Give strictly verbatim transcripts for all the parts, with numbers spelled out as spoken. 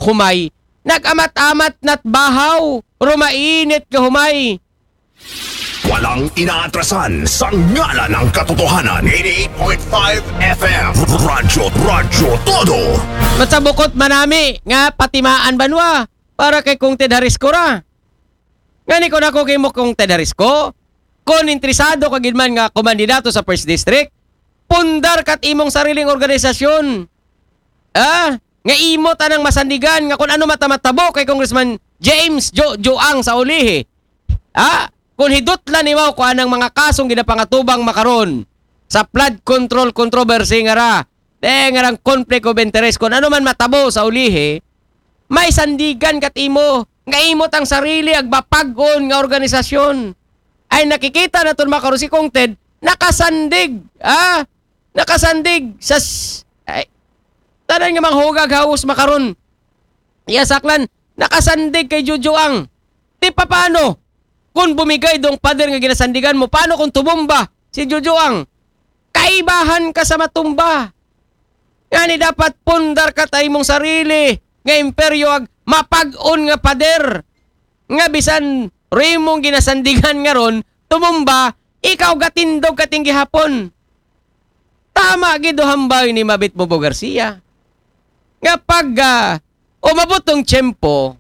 humay. Nag-amat-amat na't bahaw, rumainit ka humay. Walang inaatrasan sa ngalan ng katotohanan. Eighty-eight point five F M. Radyo, Radyo Todo. Matsabukot manami nga patimaan banwa para kay Kong Ted Harisco ra. Ngani ko nako kay mo Kong Ted Harisco, kung interesado ka gid man nga kumandidato sa First District, pundar kat imong sariling organisasyon. Ah, nga imo tanang masandigan nga kung ano matamatabo kay Congressman James Jo Joang sa ulihi. Ah, kung hidutlan nimo ko anang mga kasong ginapangatubang makaron sa flood control controversy nga ra, eh, nga rang conflict of interest, kung ano man matabo sa ulihi, may sandigan kat imo, nga imo tang sarili ag mapag-on nga organisasyon. Ay nakikita naton makaron si Kong Ted, nakasandig, ah, nakasandig sa s- ay, tanan nga mga hugag haus makaron. Iya saklan, nakasandig kay Jojo ang. Ti paano? Kung bumigay dong pader nga ginasandigan mo, paano kung tumumba si Jojo ang? Kaibahan ka sa matumba. Ngani dapat pundar ka ta imong sarili nga imperyo ag mapag-on nga pader. Nga bisan rimong ginasandigan nga ron, tumumba, ikaw gatindog kating gihapon. Tama gid o hambal ni Mabit Bobo Garcia. Nga pag ah, umabot tong tiyempo,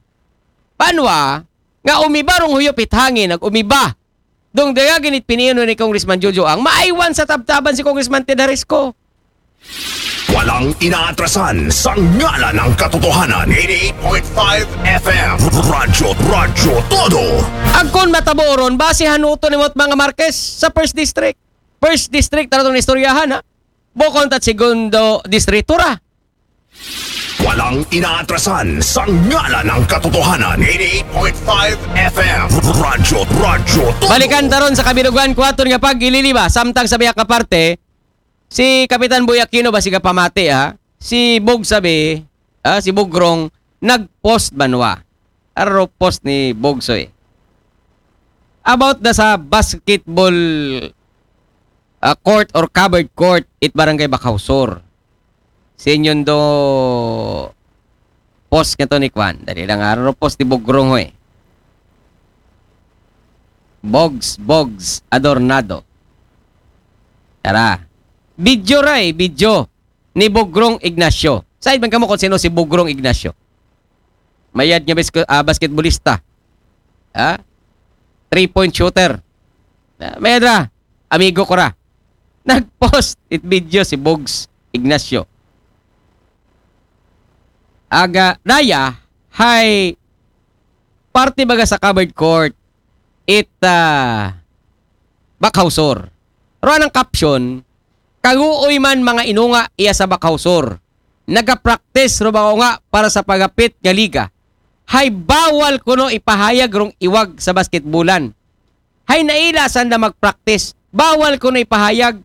panwa, nga umiba rong huyop it hangin, nag umiba. Dong daya ginit piniino ni Congressman Jojo ang maaywan sa tabtaban si Congressman Ted Harisco. Walang inaatrasan sa ngalan ng katotohanan. Eighty-eight point five F M. Radyo, Radyo Todo. Agkon matabo ron, base hanuto ni Mot mga Marquez sa First District. First District, taratong istoryahan ha. Bukon tat segundo distrito ra. Walang inaatrasan sa ngalan ng katotohanan. Eighty-eight point five F M. Radyo, Radyo Todo. Balikan taron sa kabilugan kuwaton nga pag-ililiba. Samtang sa biyak nga parte, si Kapitan Boy Aquino ba siga pamati ha? Si Bog sabi, ah, si Bugrong, nag-post banwa. Aro post ni Bogsoy. About na sa basketball ah, court or covered court it barangay Bakaw Sur. Sinyon do post nga to ni Kwan. Dali lang araw post ni Bugrong ho eh. Bogs, Bogs, Adornado. Tara. Video ra eh, video ni Bugrong Ignacio. Side man kamo kung sino si Bugrong Ignacio. Mayad nga bas- ah, basketballista. Ha? Three-point shooter. Ah, mayad ra. Amigo ko ra. Nag-post it video si Bogs Ignacio. Aga, Raya, hay party baga sa covered court it uh, Bakaw Sur. Ro ang caption, kaguoy man mga inunga iya sa Bakaw Sur. Nagapraktis ro ba nga para sa pagapit nga liga. Hay bawal kuno ipahayag rong iwag sa basketbulan. Hay naila sanda magpraktis. Bawal kuno ipahayag.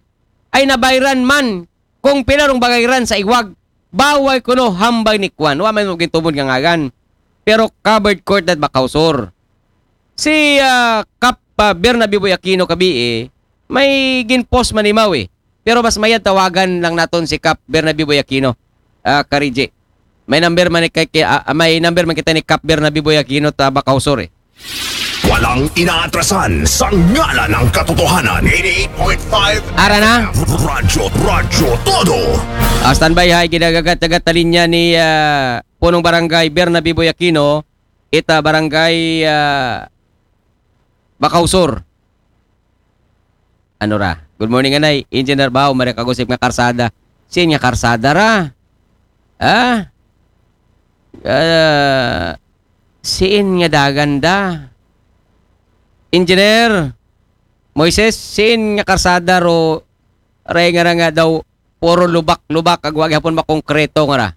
Ay nabayran man kung pila rong bagayran sa iwag. Bawal kuno hambay ni Kwan. Wa man mo gintubod nga ngagan. Pero covered court that Bakaw Sur. Si ah, Kap ah, Bernabe Boy Aquino kabi eh, may ginpost man ni Maui. Pero mas mayad tawagan lang naton si Kap Bernabe Boy Aquino. Ah, Kariji. May number man kay, kay ah, may number man kita ni Kap Bernabe Boy Aquino ta Bakaw Sur eh. Walang inaatrasan sa ngalan ng katotohanan. Eighty-eight point five Ara na. Radyo, Radyo Todo. Ah, standby ha, ginagagat-agat na linya ni ah, Punong Barangay Bernabe Boy Aquino, ita Barangay ah, Bakaw Sur. Ano ra? Good morning, anay. Engineer Bao, mare kagusip nga karsada. Sin nga karsada ra? Ha? Ah, siin nga dagan da? Engineer Moises, siin nga karsada ro ray nga ra nga daw puro lubak-lubak ag wa gihapon makongkreto nga ra.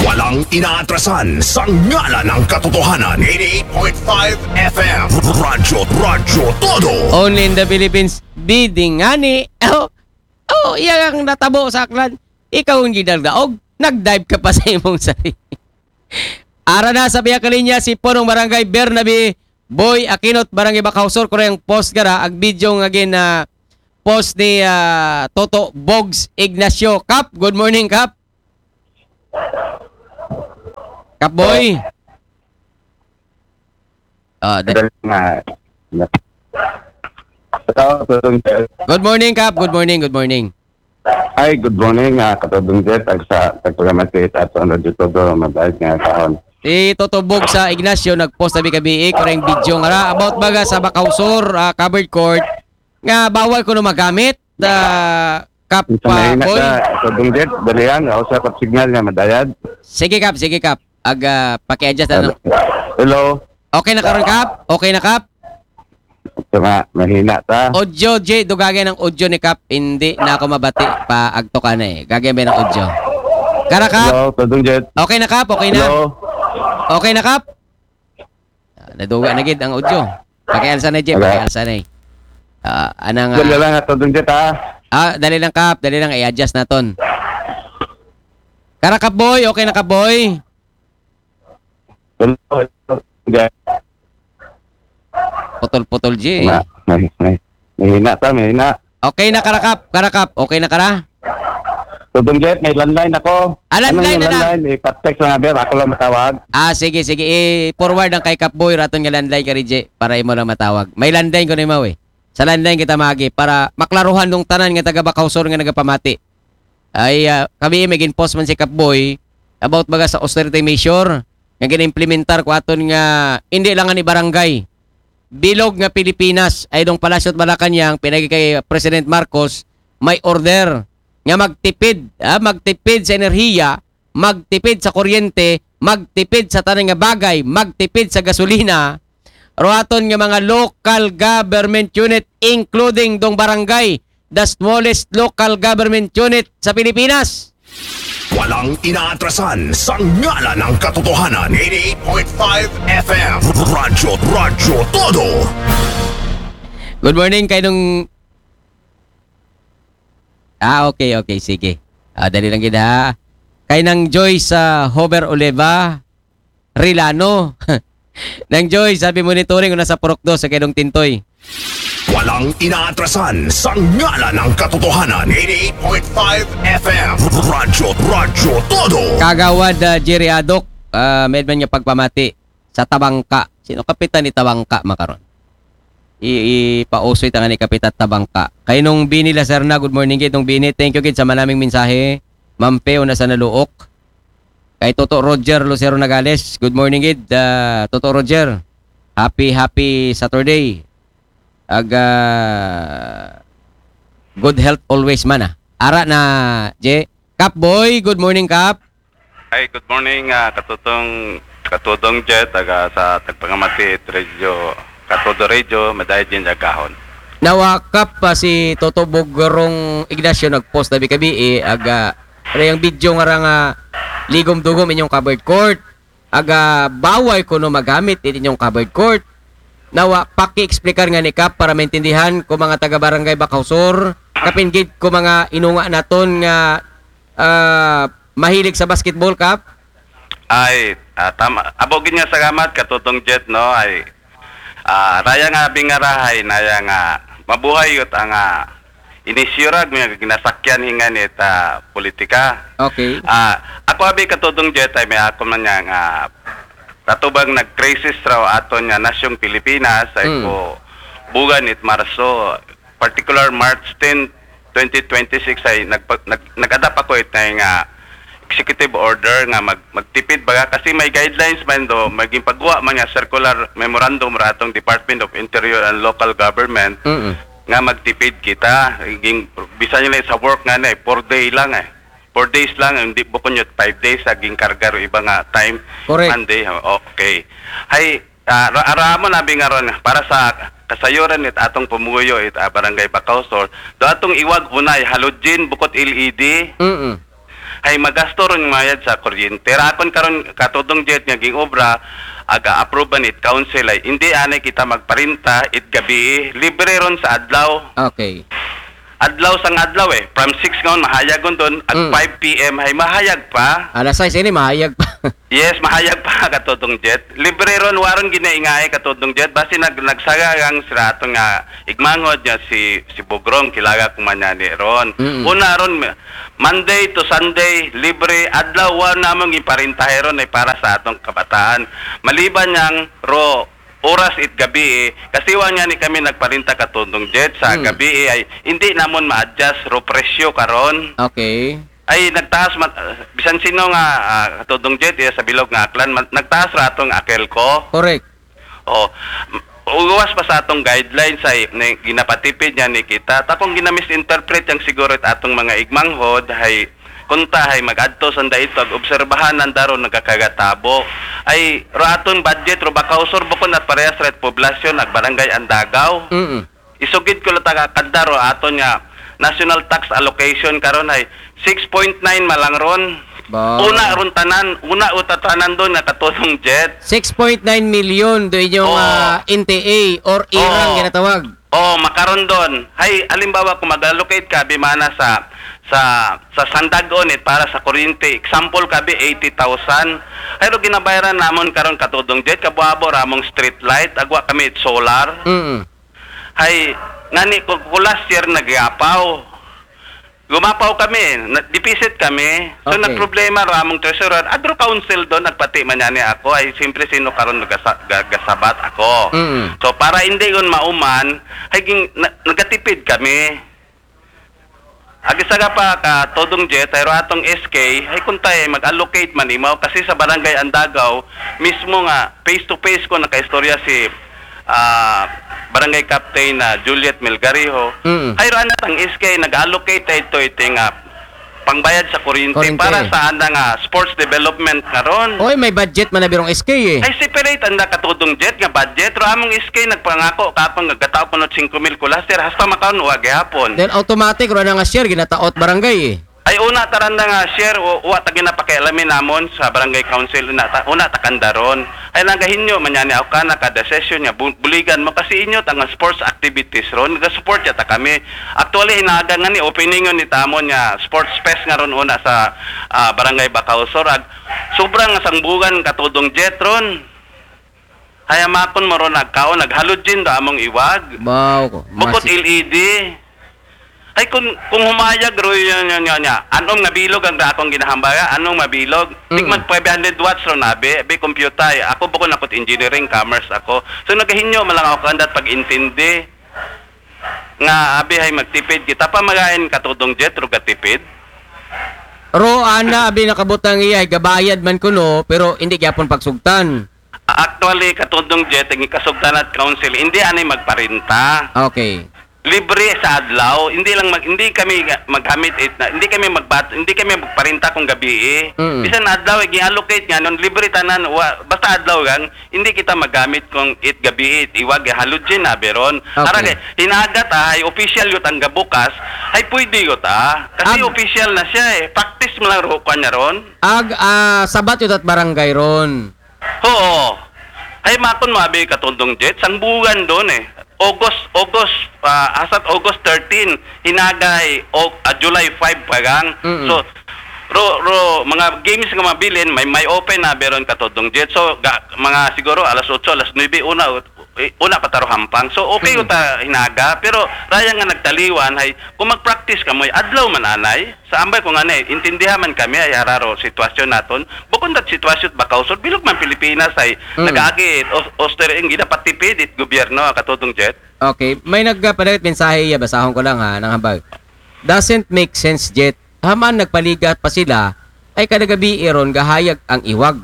Walang inaatrasan sa ngalan ng katotohanan. Eighty-eight point five F M. Radyo, Radyo Todo. Only in the Philippines, bidding ngani. Oh, oh, iya ang natabo sa aklan. Ikaw ang gidagdaog. Nag-dive ka pa sa imong sarili. Ara na sa biya kalinya si Punong Barangay Bernabe Boy Aquinot, Barangay Bakaw Sur, kurang post gara ag video nga gin ah, post ni ah, Toto Bogs Ignacio. Kap, good morning, Kap. Kapboy. Ah, da- Dali nga. Hello, Todong Jet. Good morning, Kap. Good morning, good morning. Hi, good morning, ah, Katodong Jet. Ag sa tagpagamati at ang Radyo Todo, mabait nga kahon. Si Toto Bog sa Ignacio nag-post sabi kabi eh, kurang video nga ra about baga sa Bakausor ah, covered court nga bawal kuno magamit ah, Kap Sa ah, mahina Boy. Ka, Todong Jet, dali lang, ako sa Kap Signal nga madayad. Sige Kap, sige Kap. Ag ah, paki-adjust na. Hello? Okay na karon Kap? Okay na Kap? Sa ma, mahina ta. Audio J, dugagay ng audio ni Kap. Hindi na ako mabati pa agto ka na eh. Gagay ba ng audio? Kara Kap? Hello, Todong Jet. Okay na Kap? Okay na? Hello? Okay na Kap? Ah, naduga na gid ang audio. Pakialsa na J, Wala. Pakialsa na eh. Ah, anang Dali ah, lang, Todong Jet, ha? ah, dali lang Kap, dali lang i-adjust naton. Kara Kap Boy, okay na Kap Boy? Hello, Todong Jet. Putol-putol J. Ma, may, may, mahina ta, mahina. Okay na Kara Kap, Kara Kap, okay na Kara? Todong Jet, may landline ako. Ah, landline Anong na lang. Landline? Ipa-text lang, Abel. Ako lang matawag. Ah, sige, sige. I-forward ang kay Kap Boy, raton nga landline ka J, para imo lang matawag. May landline ko ni Maui. Sa landline kita magi para maklaruhan ng tanan nga taga Bakausor nga nagapamati. Ay, ah, kami may gin-post man si Kap Boy about baga sa austerity measure nga ginimplementar ko aton nga hindi lang ni barangay. Bilog nga Pilipinas ay dong Palasyo at Malacanang pinagi kay President Marcos may order nga magtipid, ah, magtipid sa enerhiya, magtipid sa kuryente, magtipid sa tanan nga bagay, magtipid sa gasolina. Ruaton nga mga local government unit including dong barangay, the smallest local government unit sa Pilipinas. Walang inaatrasan sa ngalan ng katotohanan. Eighty-eight point five F M. Radyo, Radyo Todo. Good morning kay nung Ah, okay, okay, sige. Ah, dali lang gid ha. Kay nang Joy sa Hover Oleva Rilano. Nang Joy, sabi monitoring una sa Purok dos sa Kedong Tintoy. Walang inaatrasan sa ngalan ng katotohanan. Eighty-eight point five F M. Radyo, Radyo Todo. Kagawad ah, Jerry Adok, ah, may man nga pagpamati sa Tabangka. Sino kapitan ni Tabangka makaron? I ipausoy ta nga ni Kapitan Tabangka. Kay nung Bini Lacerna, good morning gid nung Bini. Thank you gid sa manaming mensahe. Mampe una sa Naluok. Kay Toto Roger Lucero Nagales, good morning gid. Ah, Toto Roger, happy happy Saturday. Ag ah, good health always man ah. Ara na J. Kap Boy, good morning Kap. Ay, good morning, ah, Katutong, Katutong Jet, taga sa Tagpangamati Radio, Katudo Radio, Madayad Yan Jagahon. Nawakap pa si Toto Bogorong Ignacio nag-post na bikabi eh, aga, ano yung video nga ra nga ligom-dugom inyong covered court, aga bawal kuno magamit it inyong covered court. Nawa, paki-explicar nga ni Kap para maintindihan ko mga taga Barangay Bakausor, kapin gid ko mga inunga naton nga ah, mahilig sa basketball Kap. Ay, ah, tama. Abo gid nga salamat, Katutong Jet, no? Ay, ah, raya nga bingarahay, naya nga mabuhay yut ang ah, inisyurag nga ginasakyan hingan it ah, politika. Okay. Ah, ako abi, Katutong Jet, ay may ako man niya nga katubang nag-crisis raw aton nga nasyong Pilipinas ay Mm. ko bugan it Marso, particular March ten, twenty twenty-six ay nagpa- nag nag-adapt ako it nga executive order nga mag magtipid baga kasi may guidelines man do, may ginpagawa man nga circular memorandum ra atong Department of Interior and Local Government Mm. nga magtipid kita. Ging bisan nila sa work nga na eh, four day lang eh. Four days lang, hindi bukon yun, five days sa ginkarga ro iba nga time. Correct. Monday, okay. Hay, ah, ra- ara mo na bingaron para sa kasayuran it atong pumuyo it ah, Barangay Bakausor. Do atong iwag unay halogen bukod L E D. Mm. Hay magasto ron mayad sa kuryente. Rakon karon Katutong Jet nga ging obra aga approvean it council ay hindi anay kita magparinta it gabi, libre ron sa adlaw. Okay. adlaw sang adlaw eh. From six ngon, mahayag ngon doon. Ag Mm. five p m ay mahayag pa. Alas sais ini, mahayag pa. Yes, mahayag pa, Katudong Jet. Libre ron, waron ginaingay, Katudong Jet. Basi nag, nagsaga lang sila ato nga igmanghod niya si, si Bugrong, kilaga kumanyani ron. Mm. Una ron, Monday to Sunday, libre, adlaw, wa namong iparintahe ron ay para sa atong kabataan. Maliban niyang ro, oras it gabi eh, kasi wa niya ni kami nagparinta, Katudong Jet, sa Mm. gabi eh, ay hindi namon ma-adjust ro presyo karon. Okay. Ay nagtaas mat, bisan sino nga, ah, Katudong Jet, iya sa bilog nga Aklan, mat, nagtaas ra atong akel ko. Correct. Oh, uwas pa sa atong guidelines ay ni, ginapatipid niya ni kita. Ta kung ginamisinterpret yang siguro it atong mga igmanghod, hay kunta hay mag-adto sanda ito, ag obserbahan ang daro nagkakagatabo. Ay, ro aton budget, ro Bacau Sur, bukon at parehas ret poblasyon, ag barangay Andagaw. Mm. Isugid ko lang taga kanda ro aton nga national tax allocation karon ay six point nine malang ron. Ba. Una ron tanan, una uta tanan doon nga, Katudong Jet. Six point nine million do inyong Oo. ah, N T A or irang Oo. ginatawag. Oh, makaron doon. Hay, alimbawa kung mag-allocate ka bimana sa sa sa sandagon it para sa kuryente, example kabi eighty thousand. Hay ro ginabayaran namon karon, Katudong Jet, kabuabo ramong street light, agwa kami it solar. Mm. Hay ngani ko, ko last year nagyapaw. Gumapaw kami, na, deficit kami. So Okay. nagproblema ro among treasurer, adro council doon, nagpati man niya ni ako, ay siyempre sino karon nagasa, ga- gasabat ako. Mm. So para hindi yun mauman, hay ging, na, nagatipid kami. Agi saga pa, Katudong Jet, ay ro atong S K, hay kuntay mag-allocate man imaw kasi sa barangay Andagaw mismo nga face to face ko nakaistorya si ah, barangay captain na Juliet Melgarijo. Mm. Hay ro anat ang S K nag-allocate ito ito nga pangbayad sa kuryente, Kuryente. Para sa anda nga sports development karon. Oy, may budget man na birong S K eh. Ay separate anda, Katudong Jet, nga budget. Ro among S K nagpangako kapang nagkatao kuno singko mil ko last year, hasta makaon wa gihapon. Then automatic ro na nga share ginataot barangay eh. Ay una taranda nga share, o wa ta ginapakialamin namon sa barangay council, una ta, una ta kandaron. Ay nagahinyo man niya ni ako ka naka decision niya bu- buligan mo kasi inyo ta nga sports activities ron, nagasupport ya ta kami. Actually hinaga nga ni opening ni tamon nga sports fest nga ron una sa ah, barangay Bacau Sur, ag sobrang sangbugan, Katudong Jet, ron. Hay amakon mo ron nagkaon, naghalogen do among iwag. Wow. Bukod masi- L E D. Ay kung kung humayag ro yun yun yun niya. Anong nabilog ang akong ginahambaga? Anong mabilog? Mm. Tigmag five hundred watts ro nabi, abi computer. Ako bukod akot engineering, commerce ako. So nagahinyo man lang ako kandat pag-intindi. Nga abi hay magtipid kita, pamagain, Katudong Jet, ro gatipid. Ro ana abi nakabutang iya ay gabayad man kuno pero hindi gyapon pagsugtan. Actually, Katudong Jet, ang ikasugtan at council, hindi anay magparinta. Okay. Libre sa adlaw, hindi lang mag, hindi kami magamit it na, hindi kami magbat, hindi kami magparinta kung gabi eh. Mm. Bisan adlaw, i-allocate nga nun, libre tanan, wa, basta adlaw lang, hindi kita magamit kung it gabi it iwag, halogen na beron. Okay. Ara kay hinagat ah, ay official yut ang gabukas, ay pwede yut ah. Kasi Ag- official na siya eh. Practice mo lang ro kanya ron. Ag ah, sabat yun at barangay ron. Oo. Ay makon mo abi, Katudong Jet, sangbugan doon eh. August, August, ah, asat August thirteen, hinagay o ah, July five pa gang. Mm-mm. So ro ro mga games nga mabilin, may may open na beron, Katudong Jet. So ga, mga siguro alas otso, alas nuebe, una, eh, una pa taro hampang. So okay Mm. uta hinaga, pero raya nga nagtaliwan hay kung mag-practice ka mo'y adlaw man anay. Sa ambay ko nga ni, intindihan man kami ay hararo sitwasyon naton. Bukod dat sitwasyon Bacau Sur, bilog man Pilipinas ay Mm. nag-agi os, oster ang ginapatipid it gobyerno, Katudong Jet. Okay, may nagpadagit mensahe iya, basahon ko lang ha, nang hambag. Doesn't make sense, Jet. Haman nagpaligat pa sila, ay kada gabi iron gahayag ang iwag.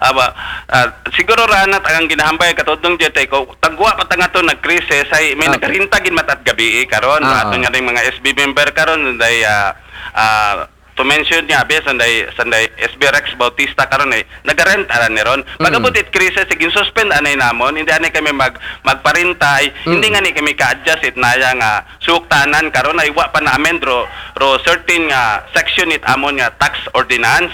Aba, ah, siguro ranat ang ginahambay, Katudong Jet, ay ko tagwa pa ta nga to nag-crisis ay may Okay. nagarinta gin matat gabi eh, karon. Ah, Ato ah. Nga ning mga S B member karon, day ah, ah, to mention niya abi sanday sanday S B Rex Bautista karon ay nagarent ara ni ron. Pag-abot it crisis, sige suspend anay namon, hindi anay kami mag magparinta ay, hindi Mm. nga ni kami ka-adjust it naya nga suktanan karon ay wa pa na amend ro, ro certain nga section it amon nga tax ordinance.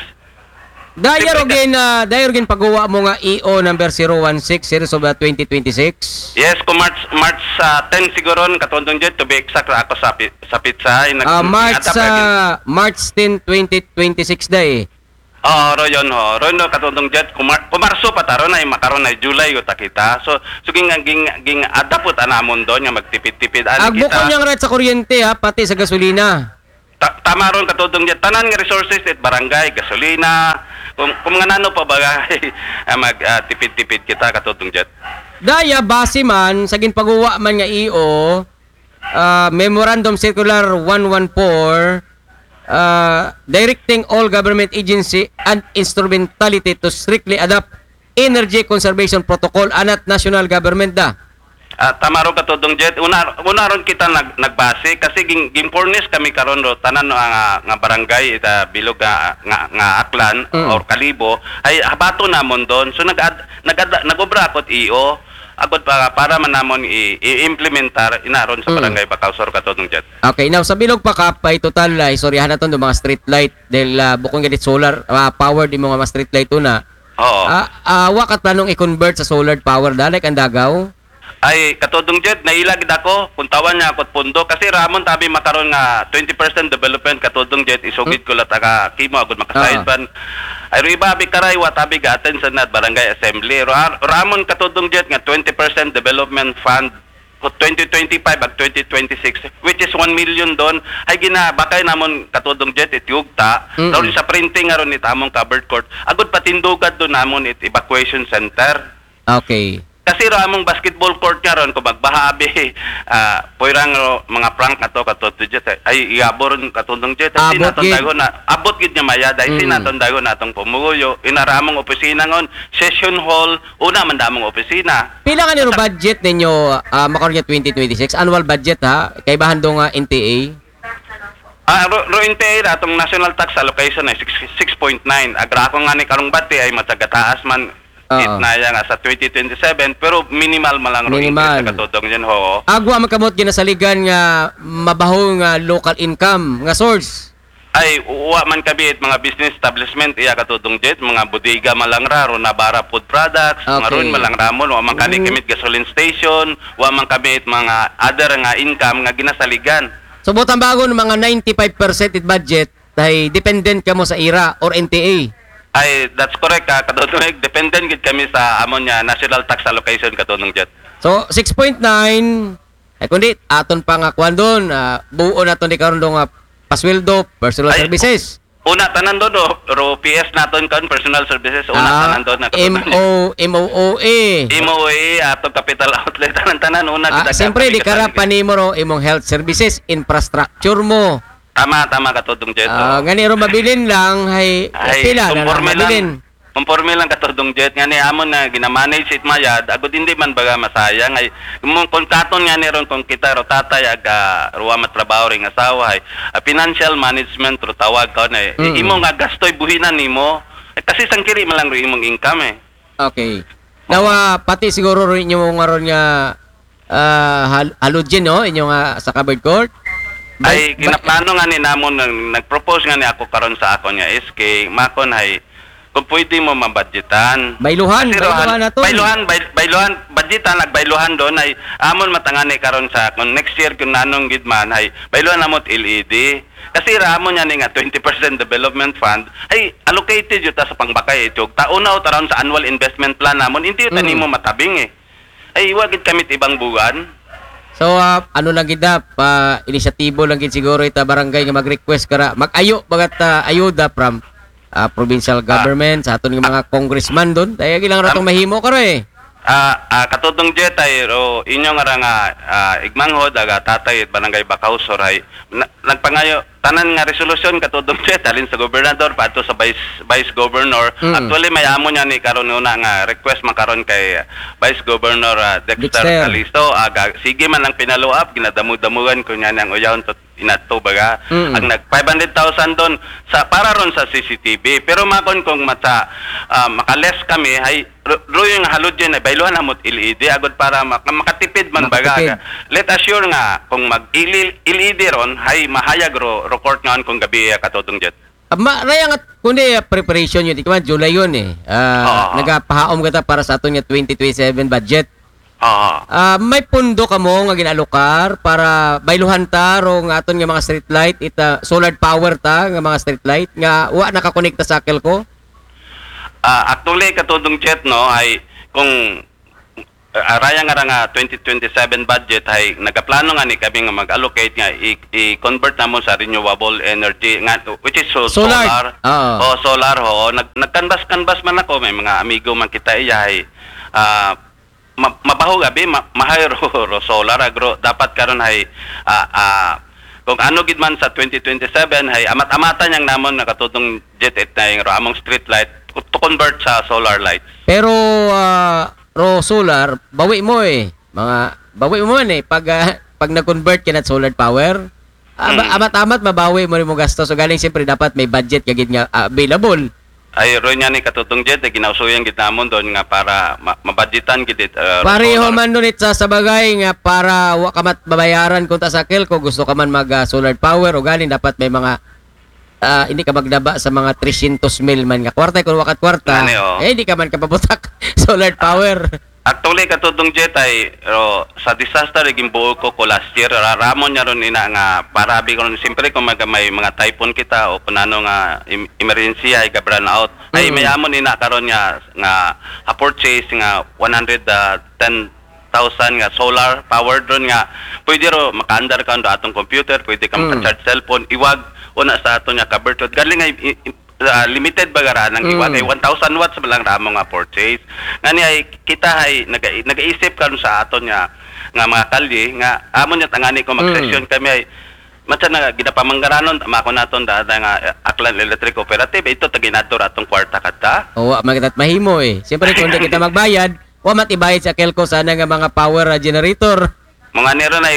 Daya Siyempre, rugin, ah, daya rugin pagguwa mo nga E O number zero one six, series of, ah, twenty twenty-six. Yes, kung March March ah, ten siguro, Katudong Jet, to be exact, ra ako sa pi- sa pizza ay nag Ah, March naghatap lagi. ah, March ten, twenty twenty-six day. Oo, ro yun ho. Ro no, Katudong Jet, kung, Mar- kung Marso pa taro na, makaron na July ko takita. So, so ging ging ging adapot anamon doon nga magtipid-tipid. Ani Agbukon kita, niyang rate sa kuryente ha, pati sa gasolina. Ta- tama ron, Katudong Jet, tanan nga resources it barangay, gasolina, kung, kung nga nano pa bagay, ah, mag ah, tipid-tipid kita, Katudong Jet. Daya base man sa ginpaguwa man nga E O, ah, Memorandum Circular one one four, ah, directing all government agency and instrumentality to strictly adopt energy conservation protocol anat national government da. Ah, tama ro, Katudong Jet. Una, una ron kita nag, nagbase kasi ging, ging furnish kami karon ro tanan no, nga, nga barangay ita bilog nga, nga, nga Aklan Mm. or Kalibo ay habato namon doon. So nag nag nagobra ako E O agod para, para man namon i, i-implementar inaron sa Mm. barangay Bakausor, Katudong Jet. Okay, now sa bilog pa kap ay total ay istoryahan naton do mga street light dahil ah, bukon gadit solar ah, power di mo nga mga street light una. Oo. Ah, ah, wa ka planong i-convert sa solar power da like ang Dagaw? Ay, Katudong Jet, naila gid ako kung tawan niya ako't pundo kasi ramon tabi makaron nga twenty percent development, Katudong Jet, isugid ko lat ka kimo agud makasayod Ah. pan. Ay, ro iba abi karay wa tabi ga-attend sa nad barangay assembly. Ra- ramon, Katudong Jet, nga twenty percent development fund ko twenty twenty-five ag twenty twenty-six, which is one million doon. Ay ginabakay namon, Katudong Jet, it yugta. Mm. Doon sa printing aron it among covered court. Agud patindugad doon namon it evacuation center. Okay. Kasi ro among basketball court nga ron, kung magbaha abi, ah, puyrang ro, mga prank ato, Katudong Jet, ay, iabor, Katudong Jet, ay, Abot sinaton gid. dago na, abot gid niya maya, dahil Mm. sinaton dago na atong pumuyo, inara among opisina ngon, session hall, una man damong opisina. Pila nga niro budget ninyo ah, makaron nga twenty twenty-six? Annual budget ha? Kaibahan do nga N T A? Ah, ro, ro N T A ra, atong national tax allocation ay six, six point nine. Agra ako nga ni karong bati ay matagataas man Oo. it na iya nga sa twenty twenty-seven, pero minimal man lang ro Minimal. increase sa, Katudong Jet, ho. Agwa man kamot ginasaligan nga mabaho nga local income nga source. Ay, uwa man kami it mga business establishment, iya, Katudong Jet, mga bodega man lang ra, ro Nabara Food Products, mga Okay. ron man lang ramon, wa man kani Mm. kami it gasoline station, wa man kami it mga other nga income nga ginasaligan. So butang bago ng mga ninety-five percent it budget ay dependent kamo sa ira or N T A. Ay, that's correct, ah, Katudong Jet. Dependent gid kami sa amon nga national tax allocation, Katudong Jet. So six point nine ay kundi aton pa nga kwan doon, ah, buo naton di karon do nga pasweldo, personal Ay, services. Una tanan doon, ro, ro P S naton kan personal services, una Ah, tanan doon na, M O, M O O A. M O A, atong capital outlet, tanan-tanan, una Ah, kita siyempre, di kita- ka ra panimo ro imong health services, infrastructure mo. Tama, tama, Katudong Jet, Ah, oh. Ngani ro mabilin lang, hay, Ay, pila na lang conforme lang. mabilin. Conforme lang, Katudong Jet, nga ni amon na ginamanage it mayad, agud hindi man baga masayang, ay, mo, kung katon nga ni ron, kung kita ro tatay, aga, ruwa matrabaho ring asawa, ay, ah, financial management ro tawag ka na, eh. Mm. Imo nga gastoy buhinan nimo, eh, kasi sangkiri man lang ro imong income, eh. Okay. Now, ah, pati siguro rin inyo nga ron nga ah, hal- halogen, no? Inyo nga sa covered court. Ay, Bal- bal- ginaplano nga ni namon, nag- nag-propose nga ni ako karon sa akon nga S K, makon hay, kung pwede mo mabudgetan. Bayluhan, Kasi bayluhan rohan- nato. Bayluhan, bay, bayluhan, budgetan, nagbayluhan doon ay amon matangani karon sa kung next year kung nanong gid man ay bayluhan namot L E D. Kasi ramon niya ni nga twenty percent development fund ay allocated yun ta sa pangbakay ito. Taon na o taron sa annual investment plan namon, hindi yun Mm. nimo matabing eh. Ay, iwa gid kami ibang buwan. So, ah, ano lang gid na, pa inisyatibo lang gid siguro ita barangay nga mag-request kara, mag-ayo bagat ah, ayuda from ah, provincial government, sa aton nga mga congressman doon. Daya gilang ratong mahimo kara eh. Ah, ah, Katudong Jet ay ro inyo nga ra nga ah, igmanghod aga tatay at barangay Bakausor ay na, nagpangayo tanan nga resolusyon, Katudong Jet, halin sa gobernador paadto sa vice vice governor. Mm. Actually, may amo niya ni karon una nga request makaron kay Vice Governor ah, Dexter, Dexter. Calisto. Aga, sige man ang pinaluap, ginadamudamugan ko niya niyang uyahon to inato baga. Mm. Ang nag five hundred thousand doon sa para ron sa C C T V. Pero makon kung mata ah, makales kami ay ru- ruyong halogen ay bayluhan namot L E D agud para mak- makatipid man baga. Makatipid. Let us sure nga kung mag L E D ron ay mahayag ro report ngaon kung gabi, ah, Katudong Jet. Ah, ma, raya nga, kundi, ah, preparation yun. Ikaw, July yun eh. Ah, Oo. Nagapahaom kita para sa aton nga twenty twenty-seven budget. Oo. Ah, may pundo kamo nga ginalokar para bayluhan ta ro nga aton nga mga street light, ita solar power ta nga mga street light nga wa nakakonekta sa Akelco? Ah, actually, Katudong Jet, no, ay kung uh, araya nga ra nga twenty twenty-seven budget ay nagaplano nga ni kami nga mag-allocate nga i- i-convert namon sa renewable energy nga, which is so- Solar. solar. Oo. Oh, solar ho. Nag nagkanbas-kanbas man ako, may mga amigo man kita iya ay ah, ma- mabaho gabi, ma- mahay ro, ro solar agro. Dapat karon ay ah, ah, kung ano gid man sa twenty twenty-seven ay amat-amatan yang namon nga Katudong Jet, it na yung among street light to convert sa solar lights. Pero ah, ro solar, bawi mo eh. Mga bawi mo man eh pag ah, pag nag-convert ka na solar power. Aba, Hmm. Amat-amat mabawi mo rin mo gasto. So galing siyempre dapat may budget ka gid nga ah, available. Ay, ro niya ni Katudong Jet, eh, ginausuyan gid namon doon nga para ma- mabudgetan gid it, uh, Pareho solar. Man doon it sa sabagay nga para wa ka mat mabayaran kung ta sa Akelco, gusto ka man mag ah, solar power o galing dapat may mga ah, hindi ka magdaba sa mga tresyentos mil man nga kwarta kung wakat kwarta. Ngani, oh. Eh, hindi ka man kapabutak solar power. Actually, Katudong Jet ay ro, sa disaster ay gimbuo ko ko last year. Ra- Ramon niya ron ina nga para abi ko ron, siyempre kung mag- may mga typhoon kita o kung ano nga im- emergency ay ga-brownout. Ay Mm. may amon ina karon nga nga ha purchase nga one hundred ten thousand nga solar power drone nga pwede ro makaandar ka do atong computer, pwede ka Mm. maka-charge cellphone, iwag una sa ato nga cover to. Galing ay i- i- ah, limited ba gara nang iwag Mm. ay one thousand watts ba lang ramo nga purchase. Ngani ay kita ay naga, nagaisip karon sa aton nga nga mga kalye nga amon niya tangani ko Mm. mag-session kami ay matsa na ginapamanggaranon mako naton dada nga eh, Aklan Electric Cooperative ito taginadto ra atong kwarta kadta. O wa man kita mahimo eh. Siyempre kung hindi kita magbayad, wa mat ibayad sa Akelco sana nga mga power ah, generator. Mga nero na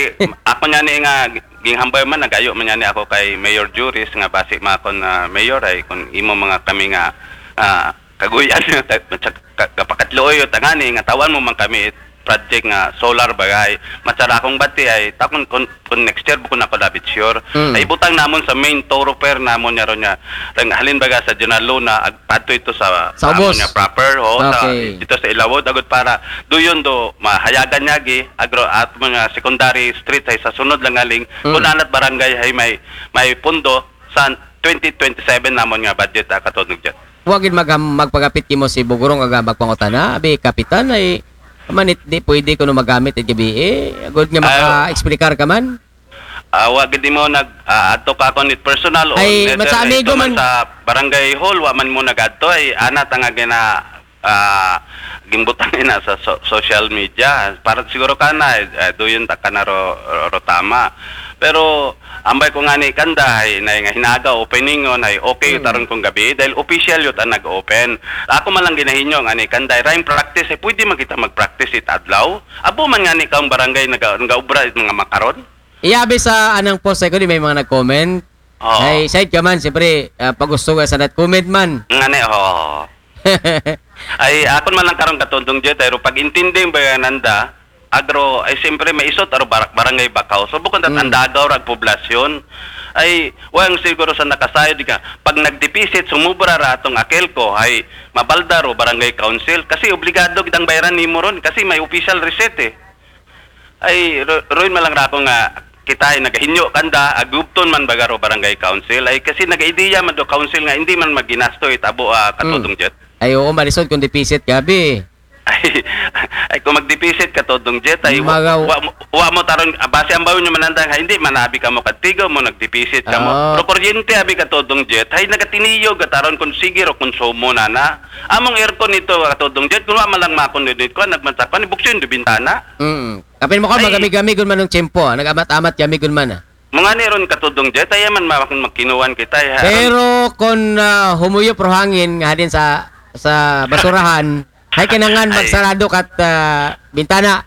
ako niya ni nga ginghambay man nagayo man niya ni ako kay Mayor Juris nga basi makon na mayor ay kung imo mga kami nga ah, kaguyan ta- ta- ka- kapakatluoy o tangani nga tawan mo man kami project nga solar bagay. Matsara akong bati ay takon kun, kun next year bukon ako labit sure. Mm. Ay butang namon sa main thoroughfare namon niya ron niya. Rang halin baga sa General Luna ag padto ito sa Sa amon ubos. Niya proper o sa Okay. ito sa Ilawod agud para duyon do mahayagan niya gi agro at mga secondary street ay sa sunod lang aling Mm. kung anat barangay ay may may pundo sa twenty twenty-seven namon nga budget ah, Katudong Jet. Wa gid mag magpagapit kimo si Bugurong aga magpangutana, abi kapitan ay manit di pwede kuno magamit it gabi eh. Agud nga Ay, maka-explicar ka man. Ah, wa gid mo nag ah, adto ka ako ni personal o Ay, neither matsa ay amigo ito man man. Sa barangay hall wa man mo nagadto ay ana ta nga gina ah, gimbutang ina sa so- social media para siguro ka na eh, duyon ta ka na ro, ro, ro tama. Pero ambay ko nga ni kanda ay na nga hinaga opening on ay okay Hmm. taron kong gabi dahil official yut ang nag-open. Ako man lang ginahinyo nga ni kanda ay rain practice ay pwede man kita mag-practice it adlaw. Abo man nga ni kaong barangay naga, nagaubra it mga makaron. Iyabi sa anang post ay ko di may mga nag-comment. Oo. Ay, side ka man, siyempre, ah, pagusto ka sa nat comment man. Nga ni, oo. Ay, akon man lang karong Katudong Jet, ay ro pag-intinding ba yan nanda, agro, ay siyempre may isot, aro bar- barangay Bakaw. So, bukon tat Mm. andagaw rag poblasyon, ay, wang siguro sa nakasayod ka, pag nagdeficit, sumubra ra atong Akelco, ay, mabalda ro barangay council. Kasi obligado gid ang bayaran nimo ron, kasi may official receipt eh. Ay, ro- roon man lang ra ako nga kita ay nagahinyo kanda, agubton man baga ro barangay council. Ay, kasi nagaideya man do council nga hindi man maginasto itabo ah, Katudong Jet. Ay, oo, malisod kung deficit gabi. Ay, ay kung magdeficit Katudong Jet, ay wa, Magaw- wa, wa mo taron, ah, base ang bayo nyo manandang, ha, hindi manabi ka mo katigo mo, nagdeficit ka mo. Ah. Pero kuryente abi Katudong Jet, ay nagatiniyog ka taron kung sige ro konsumo na na. Among aircon ito Katudong Jet, kung wa man lang makon din ko, nagmansakon, ibuksin do bintana. Mm. Kapin mo ka, Ay. Magami-gami gun man ng tiyempo, ah. Nag-amat-amat kami gun man, ah. Mga ni ron Katudong Jet, ay man makin magkinuwan kita. Ay, ha, Pero kung ah, humuyop ro hangin nga din sa sa basurahan, ay kinangan Ay. magsarado kat ah, bintana.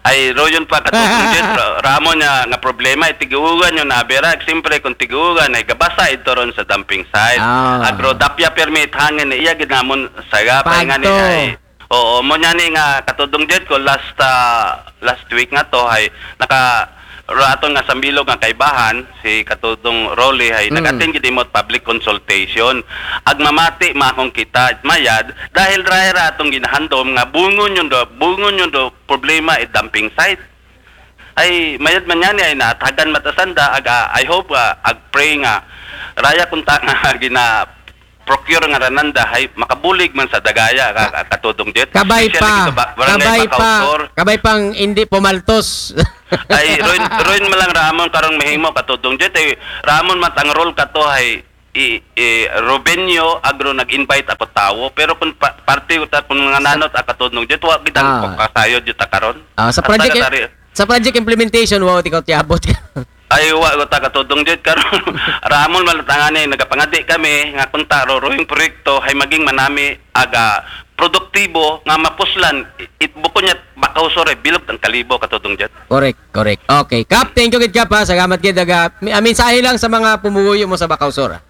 Ay, royon pa Katudong Jet, ra- ramo niya nga problema, ay tiguugan yun na abira. Siyempre, kung tiguugan, ay gabasa ito ron sa dumping site. Ah. Agro, dapya permit hangin, iya gid namon saga, Pagto. Nga ni, ay, oo, mo niya ni nga Katudong Jet ko last ah, last week nga to, ay naka Raton nga sambilog nga kaibahan, si Katudong Rolly ay Mm. nag-attend gid imot public consultation. Ag mamati ma akong kita, mayad, dahil dry ra atong ginahandom nga bungon yun do, bungon yun do problema i dumping site. Ay, mayad man yan ay natagan matasanda, ag, ah, I hope, ah, ag pray nga raya kunta nga gina procure nga rananda ay makabulig man sa dagaya ka, ka- Katudong Jet. Kabay Especially pa, dito ba, barangay kabay Bacau pa, Sur. Kabay pang hindi pumaltos. Ay, Roy, Roy malang Ramon karong mahimo Katudong Jet. Ay, Ramon matang role ka to ay i, i Rubenio Agro nag-invite ako tawo. Pero kung pa, parte ko ta, kung mga nanot a Katudong Jet, wa kita Ah. Kasayod Jet karon. Ah, sa At project taga-tari- sa project implementation, wow, tikaw tiabot ka. Ay, wa ko ta Katudong Jet karon. Ramon malatangani, nagapangadi kami nga kung taro rohing proyekto ay maging manami aga produktibo nga mapuslan it buko niya Bacau Sur ay bilog ang kalibo Katudong Jet. Correct, correct. Okay, Kap, thank you gid, Kap, ha. Salamat gid, aga. Mi- ah, mensahe lang sa mga pumuyo mo sa Bacau Sur, ha.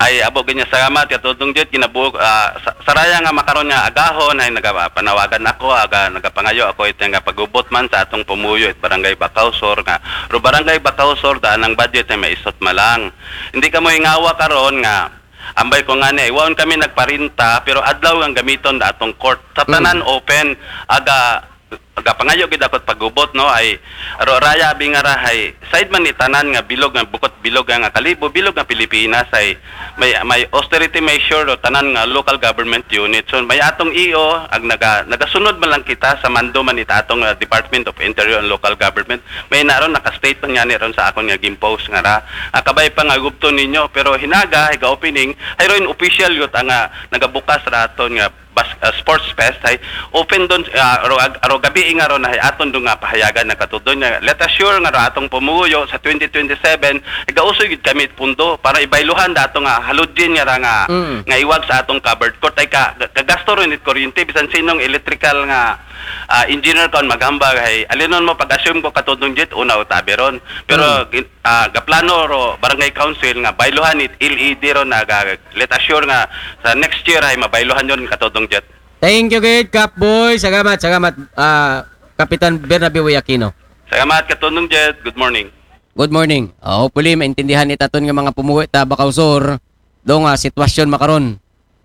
Ay, abo ganyan salamat Katudong Jet, kinabuok ah, sa, saraya nga makaron nga agahon ay nagapanawagan ako, aga nagapangayo ako ito nga pagubot man sa atong pumuyo it barangay Bacau Sur nga ro barangay Bacau Sur daan ang budget ay maisot malang. Hindi ka mo hingawa karon nga ambay ko nga ni, ay waon kami nagparinta pero adlaw ang gamiton da atong court. Sa tanan open, aga aga pangayo gid ako pagubot no ay ro raya abi nga rahay side man ni tanan nga bilog nga bukot bilog nga kalibo bilog nga Pilipinas ay may may austerity measure ro tanan nga local government unit. So may atong E O ag naga nagasunod man lang kita sa mando man it atong ah, Department of Interior and Local Government. May naron naka-state man yani ron sa akon nga gimpost nga ra. Ah, kabay pa nga gubton ninyo pero hinaga higa opening ay ron official yut ang ah, nagabukas ra aton nga bas, ah, sports fest ay open don ah, ro, ag- ro gabi nga ron ay aton do nga pahayagan na Katudong nga let us sure nga ra atong pumuyo sa twenty twenty-seven igausoy gid kami pundo para ibayluhan da ato nga haludin nga ra nga Mm. nga iwag sa atong covered court ay ka, ka- kagasto ron it kuryente bisan sinong electrical nga ah, engineer kon maghambag ay alinon mo pag-assume ko Katudong Jet una o tabi ron pero gin- ah, gaplano ro barangay council nga bayluhan it L E D ron na ga- let us sure nga sa next year ay mabayluhan yon Katudong Jet. Thank you gid, Kap Boy. Salamat, salamat, ah, Kapitan Bernabe Aquino. Salamat Katudong Jet. Good morning. Good morning. Ah, hopefully maintindihan ni taton nga mga pumuwi ta Bacau Sur do nga sitwasyon makaron.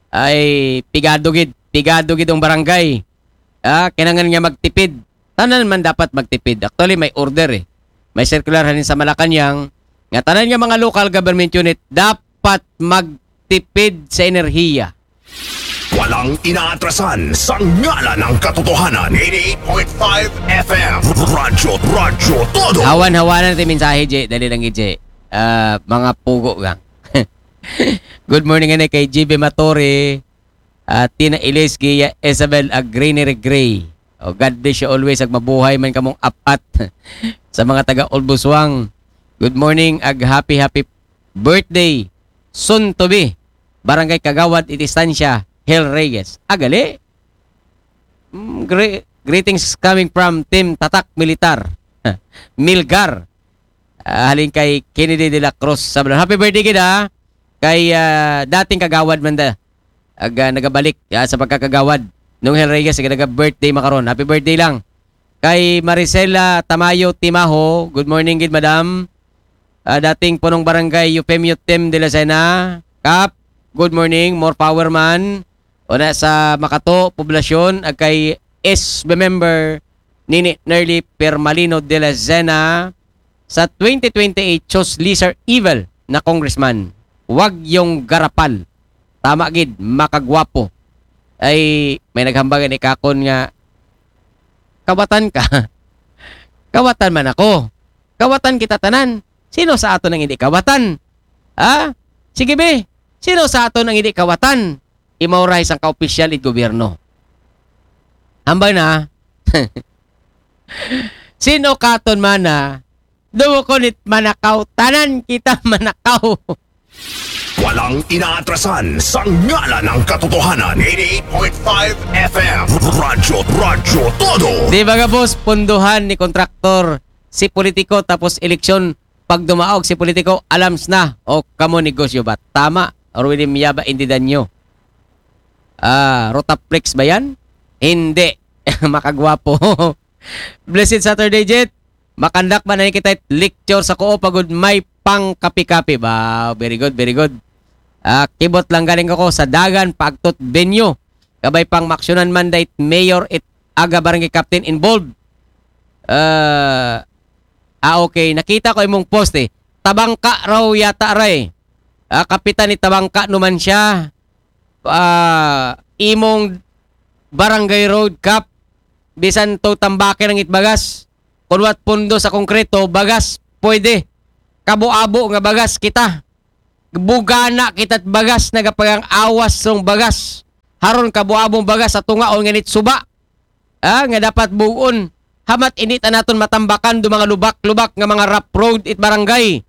Ay pigado gid, pigado gid ang barangay. Ah, kinahanglan nga magtipid. Tanan man dapat magtipid. Actually may order eh. May circular hanin sa Malacañang nga tanan nga mga local government unit dapat magtipid sa enerhiya. Walang inaatrasan sa ngalan ng katotohanan. eighty-eight point five F M. Radyo, Radyo Todo. Hawan-hawanan ti mensahe, J. Dali lang, J. Ah, mga pugo lang. Good morning ani kay G B Matore, ah, Tina Ilis, Gia Isabel Agrini Gray. Oh, God bless you always. Ag mabuhay man kamong apat sa mga taga Olbuswang. Good morning ag happy happy birthday soon to be Barangay Kagawad iti Estancia, Hel Reyes. Agali? Mm, gre- greetings coming from Team Tatak Militar. Milgar. Ah, halin kay Kennedy de la Cruz Sablan. Happy birthday gid ha. Kay ah, dating kagawad man da. Ag ah, nagabalik ah, sa pagkakagawad. Nung Hel Reyes, naga-birthday makaron. Happy birthday lang. Kay Maricela Tamayo Timaho, good morning gid madam. Ah, dating punong barangay Eufemio Tim de la Sena. Kap, good morning, more power man. Una sa Makato, Poblasyon, ag kay S B member Nini Nerly Permalino de la Zena sa twenty twenty-eight, choose lesser evil na congressman. Wag yung garapal. Tama gid, makagwapo. Ay, may naghambagan ikakon nga, kawatan ka. Kawatan man ako. Kawatan kita tanan. Sino sa aton ang hindi kawatan? Ha? Sige be, sino sa aton ang hindi kawatan? Imauray sang kaopisyal it gobyerno. Hambal na. Sino katon man na dumukon it manakaw? Tanan kita manakaw. Walang inaatrasan sa ngalan ng katotohanan. eighty-eight point five F M. Radyo, Radyo Todo. Di ba nga boss, punduhan ni kontraktor si politiko tapos eleksyon pag dumaog si politiko, alams na o kamo negosyo ba? Tama, Rudy Miyaba Indidanyo. Ah, Rotaflex ba yan? Hindi. Makagwapo. Blessed Saturday, Jet. Makandak ba na kita lecture sa Coop agud may pangkapi-kapi ba? Very good, very good. Ah, kibot lang galing ako sa Dagan, Pagtot Venue. Kabay pang maksyonan man dait mayor it aga barangay captain involved. Ah, ah, okay. Nakita ko imong post eh. Tabangka raw yata ray. Ah, kapitan ni Tabangka numan siya. Ah, imong barangay road cap. Bisan to tambake ng itbagas. Kunwat pundo sa konkreto, bagas, pwede. Kabo-abo nga bagas kita. Bugana kita't bagas, nagapagang awas rong bagas. Haron kabo-abong bagas sa tungaon nga nitsuba. Ah, nga dapat bugon. Hamat inita naton matambakan do mga lubak-lubak nga mga rough road it barangay.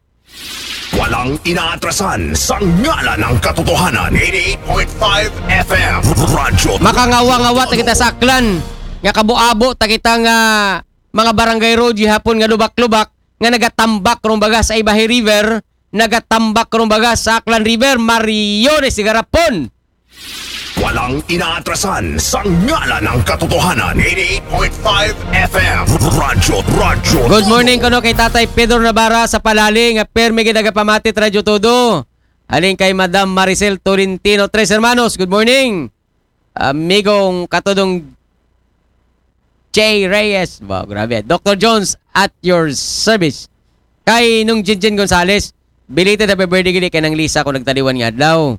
Walang inaatrasan sa ngalan ng katotohanan. eighty-eight point five F M. Radyo. Makangawa-ngawa ta kita sa Aklan. Nga kabo-abo ta kita nga mga barangay road gihapon nga lubak-lubak nga nagatambak rong bagas sa Ibahay River, nagatambak rong bagas sa Aklan River, Mariones de Garapon. Walang inaatrasan sa ngalan ng katotohanan. eighty-eight point five F M. Radyo, radyo. Good morning kuno kay Tatay Pedro Navarra sa Palali nga permi gid nagapamati Radyo Todo. Halin kay Madam Maricel Tolentino, Tres Hermanos. Good morning. Amigong katudong Jay Reyes. Wow, grabe. Doctor Jones at your service. Kay Nung Jinjin Gonzales, belated happy birthday gid kay Nang Lisa ko nagtaliwan nga adlaw.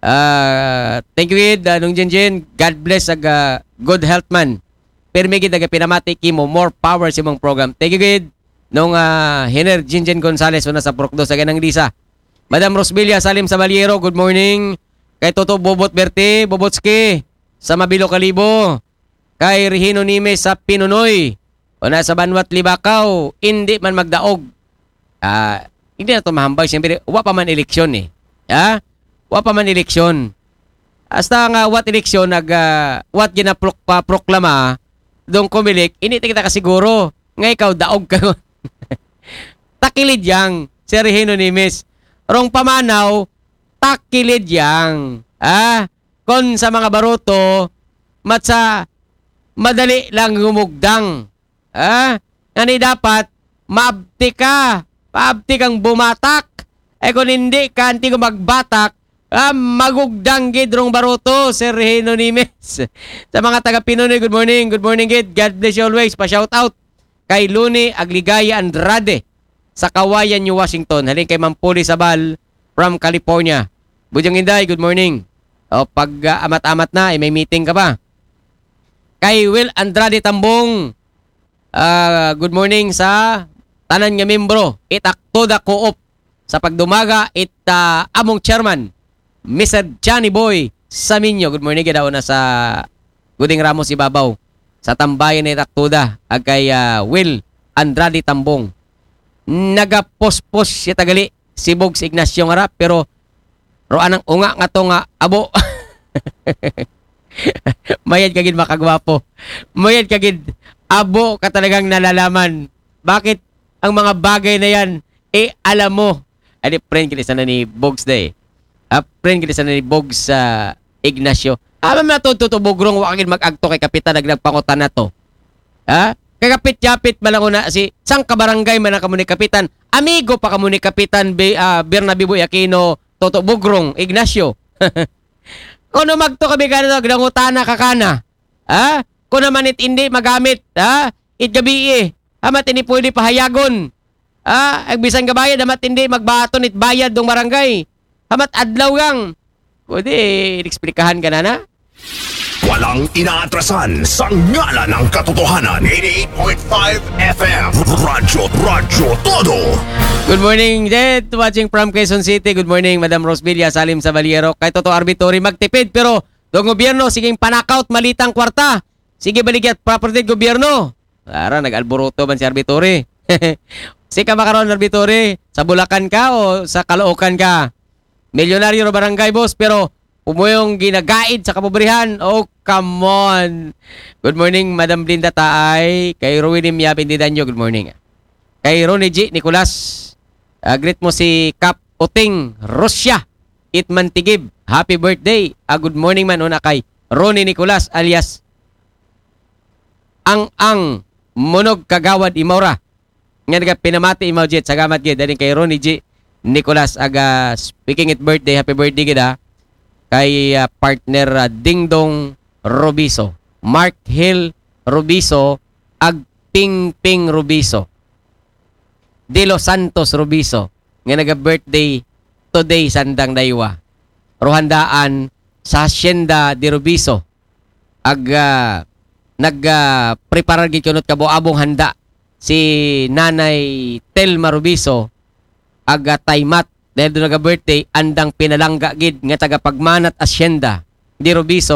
Ah, thank you gid, ah, Nung Jinjin. God bless ag ah, good health man. Permi gid aga pinamati kimo, more power sa imong program. Thank you gid. Nung ah, Hiner Jinjin Gonzales una sa Purok Dos, aga Nang Lisa. Madam Rosbilia Salim Sabaliero, good morning. Kay Toto Bobot Berte, Bobotski, sa Mabilo Kalibo. Kay Regino Nimes sa Pinunoy. O na sa Banwat Libakaw, hindi man magdaog. Ah, hindi na to mahambay, siyempre, wa pa man eleksyon eh. Ha? Wa pa man eleksyon. Hasta nga wat eleksyon, nag, ah, wat ginaprok-, pa-proklama, dong Comelec, hindi kita kasiguro. Nga ikaw, daog ka. Takilid yang, si Regino Nimes. Rong pamanaw, takilid yang. Ah, kon sa mga baruto, matsa madali lang gumugdang. Ah, ngani dapat, maabti ka. Maabti kang bumatak. Eh, kung hindi ka, hindi ko magbatak, ah, magugdang gid rong baruto, Sir Hino Nimes. Sa mga taga Pinunoy, good morning. Good morning, gid. God bless you always. Pa-shout out kay Luni Agligaya Andrade sa Kawayan, New Washington. Halin kay Mampuli Sabal from California. Bujang Inday, good morning. O, pag ah, amat-amat na, eh, may meeting ka pa. Kay Will Andrade Tambong, ah, good morning sa tanan nga membro. Itakto da Coop sa pagdumaga it ah, among chairman, Mister Johnny Boy Saminyo. Good morning, gid, una sa Guding Ramos Ibabaw. Sa tambayan ni Taktuda, ag kay ah, Will Andrade Tambong. Nagapospos siya tagali si Bogs Ignacio nga ra, pero ro anang unga nga to nga abo. Mayad ka gid makagwapo. Mayad ka gid abo ka talagang nalalaman. Bakit ang mga bagay na yan, eh, alam mo. Ay, di, friend gid sana ni Bogs da eh. Ah, friend gid sana ni Bogs sa Ignacio. Ama na to, Toto Bugrong, wa ka gid mag-agto kay Kapitan, nag-, nagpangutan na to. Ha? Kagapit-yapit man lang una si, sang kabarangay man ang kamo ni Kapitan. Amigo pa kamo ni Kapitan Bi-, ah, Bernabe Boy Aquino, Toto Bugrong, Ignacio. Kuno magto ka bigana, nagdangutana ka kana. Ha? Kuno naman it hindi magamit, ha? It gabi eh. Hamat ini pwede pahayagon. Ha? Ag bisan ka bayad, hamat hindi magbaton it bayad dong barangay. Hamat adlaw gang. Pwede, ineksplikahan ka na na? Walang inaatrasan sa ngalan ng katotohanan. eighty-eight point five F M. Radyo, Radyo Todo. Good morning, Jet. Watching from Quezon City. Good morning, Madam Rosbilia Salim Sabaliero. Kay Toto Arbitori, magtipid, pero dong gobyerno, siging panakaw it malitang kwarta. Sige, baligya it property it gobyerno. Ara, nag-alburuto man si Arbitori. Si ka makaron, Arbitori, sa Bulacan ka o sa Caloocan ka? Milyonaryo ra barangay, boss, pero pumuyong ginagaid sa kapobrihan. Oh, come on. Good morning, Madam Blinda Taay. Kay Rowena Miabin Didanyo, good morning. Kay Ronnie G Nicolas, ah, greet mo si Kap Uting Rusya. Itman Tigib, happy birthday. Ah, good morning man una kay Ronnie Nicolas alias Ang Ang Monog Kagawad Imaura. Nga naga pinamati, Imaw Jet, salamat gid. Daling kay Ronnie G Nicolas, aga speaking it birthday, happy birthday gid, ha. Kay, ah, partner, ah, Dingdong Robiso, Mark Hill Robiso, ag Ping Ping Robiso, De Los Santos Robiso, nga naga-birthday today sandang daywa. Ruhandaan sa Hacienda de Robiso, ag, ah, nag, ah, preparar gid kunot kabuabong handa si Nanay Telma Robiso, ag, ah, Taymat, dahil doon naga-birthday, andang pinalangga gid nga taga Pagmanat Hacienda de Robiso,